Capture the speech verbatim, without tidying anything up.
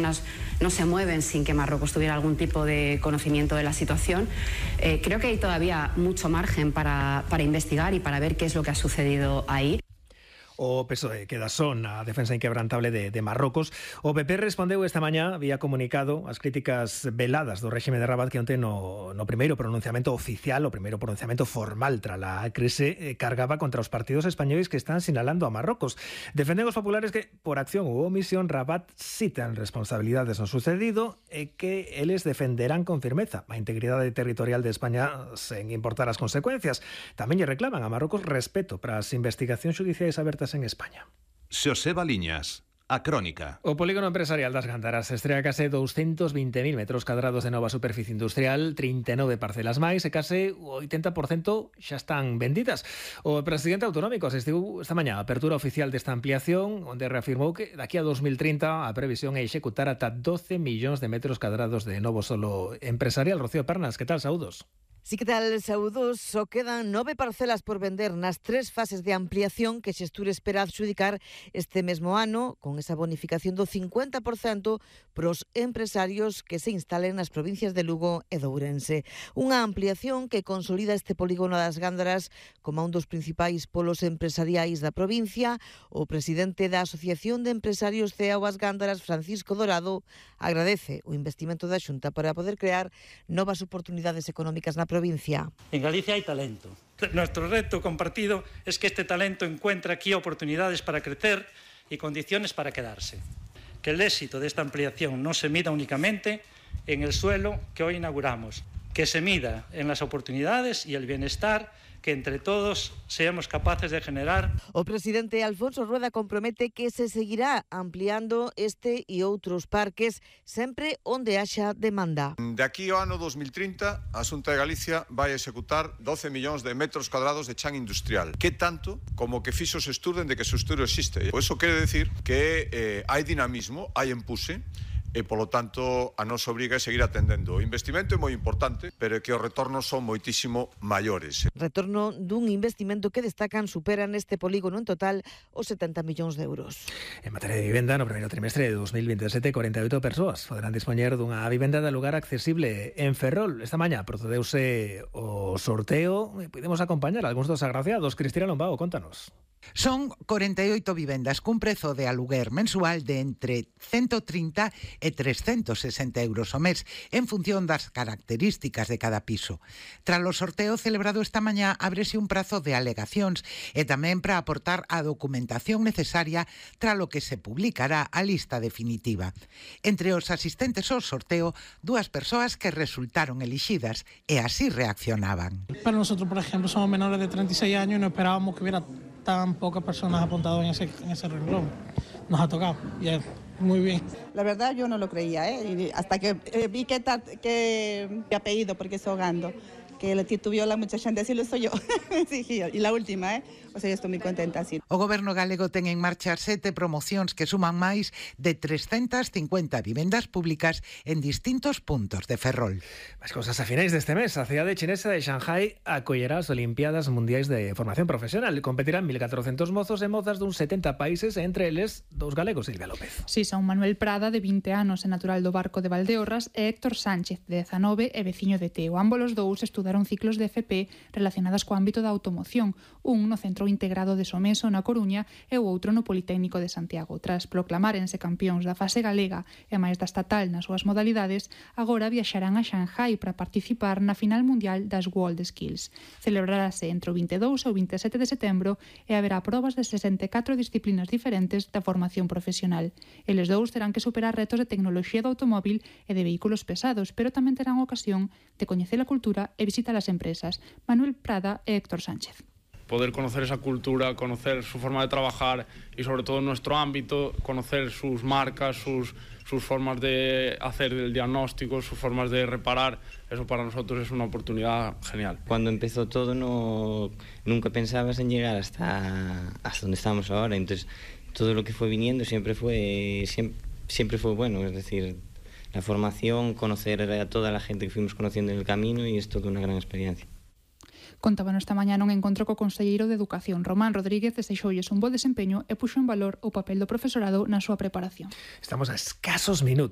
personas no se mueven sin que Marruecos tuviera algún tipo de conocimiento de la situación. Eh, creo que hay todavía mucho margen para, para investigar y para ver qué es lo que ha sucedido ahí. O P S O E queda son a defensa inquebrantable de, de Marrocos. O P P respondeu esta mañá vía comunicado as críticas veladas do réxime de Rabat que onte no, no primeiro pronunciamento oficial, o primeiro pronunciamento formal tras a crise, eh, cargaba contra os partidos españois que están sinalando a Marrocos. Defenden os populares que, por acción ou omisión, Rabat sí ten responsabilidades no sucedido e que eles defenderán con firmeza a integridade territorial de España sen importar as consecuencias. Tamén lle reclaman a Marrocos respeto para as investigacións xudiciais abertas en España. Xoseba Liñas, A Crónica. O polígono empresarial das Gándaras estrea case doscientos vinte mil metros cadrados de nova superficie industrial, trinta e nove parcelas máis e case o oitenta por cento xa están vendidas. O presidente autonómico asistiu esta mañá a apertura oficial desta ampliación, onde reafirmou que daqui a dos mil trinta a previsión é executar ata doce millóns de metros cadrados de novo solo empresarial. Rocío Pernas, que tal? Saúdos. Sí, que tal, saúdos? Só quedan nove parcelas por vender nas tres fases de ampliación que Xestur espera adxudicar este mesmo ano, con esa bonificación do cincuenta por cento pros empresarios que se instalen nas provincias de Lugo e de Ourense. Unha ampliación que consolida este polígono das Gándaras como un dos principais polos empresariais da provincia. O presidente da Asociación de Empresarios C E A O As Gándaras, Francisco Dorado, agradece o investimento da Xunta para poder crear novas oportunidades económicas na provincia. provincia. En Galicia hay talento. Nuestro reto compartido es que este talento encuentre aquí oportunidades para crecer y condiciones para quedarse. Que el éxito de esta ampliación no se mida únicamente en el suelo que hoy inauguramos, que se mida en las oportunidades y el bienestar que entre todos seamos capaces de generar. O presidente Alfonso Rueda compromete que se seguirá ampliando este e outros parques sempre onde haxa demanda. De aquí ao ano dos mil trinta, a Xunta de Galicia vai executar doce millóns de metros cuadrados de chan industrial, que tanto como que fixo se estuden de que se estudo existe. Por eso quere decir que eh, hai dinamismo, hai empuje, e, polo tanto, a nos obriga a seguir atendendo. O investimento é moi importante, pero é que os retornos son moitísimo maiores. Retorno dun investimento que destacan supera neste polígono en total os setenta millóns de euros. En materia de vivenda, no primeiro trimestre de dos mil veintisiete, corenta e oito persoas poderán dispoñer dunha vivenda de lugar accesible en Ferrol. Esta mañá procedeuse o sorteo e podemos acompañar a algúns dos agraciados. Cristina Lombao, contanos. Son corenta e oito vivendas cun prezo de aluguer mensual de entre ciento trinta e trescentos sesenta euros ao mes en función das características de cada piso. Tras o sorteo celebrado esta mañá ábrese un prazo de alegacións e tamén para aportar a documentación necesaria tras o que se publicará a lista definitiva. Entre os asistentes ao sorteo, dúas persoas que resultaron elixidas e así reaccionaban. Para nosotros, por ejemplo, somos menores de treinta y seis años y no esperábamos que hubiera tan pocas personas apuntadas en ese, en ese renglón. Nos ha tocado, y es muy bien. La verdad yo no lo creía, ¿eh? Hasta que eh, vi que, que mi apellido, porque es Ogando, que le titubeo mucha gente, así lo soy yo. Sí, y la última, ¿eh? O sea, yo estoy muy contenta así. O Goberno galego ten en marcha sete promocións que suman máis de trescentas cincuenta vivendas públicas en distintos puntos de Ferrol. Más cosas a finais deste mes. A cidade chinesa de Shanghai acollerá as Olimpiadas Mundiais de Formación Profesional. Competirán mil catrocentos mozos e mozas dun setenta países, entre eles dous galegos, Silvia López. Si, son Manuel Prada, de vinte anos e natural do Barco de Valdeorras, e Héctor Sánchez, de dezanove e veciño de Teo. Ambos os dous estudaron ciclos de F P relacionadas co ámbito da automoción, un no Centro Integrado de Someso na Coruña e o outro no Politécnico de Santiago. Tras proclamárense campións da fase galega e máis da estatal nas súas modalidades, agora viaxarán a Shanghai para participar na final mundial das World Skills. Celebrarase entre o vinte e dous e o vinte e sete de setembro e haberá probas de sesenta e catro disciplinas diferentes da formación profesional. Eles dous terán que superar retos de tecnoloxía do automóbil e de vehículos pesados, pero tamén terán ocasión de coñecer a cultura e visitar as empresas. Manuel Prada e Héctor Sánchez. Poder conocer esa cultura, conocer su forma de trabajar y sobre todo en nuestro ámbito, conocer sus marcas, sus, sus formas de hacer el diagnóstico, sus formas de reparar, eso para nosotros es una oportunidad genial. Cuando empezó todo no, nunca pensabas en llegar hasta, hasta donde estamos ahora, entonces todo lo que fue viniendo siempre fue, siempre, siempre fue bueno, es decir, la formación, conocer a toda la gente que fuimos conociendo en el camino y es toda una gran experiencia. Contaban esta mañá nun encontro co conselleiro de Educación, Román Rodríguez, desexoulles un bo desempeño e puxo en valor o papel do profesorado na súa preparación. Estamos a escasos minutos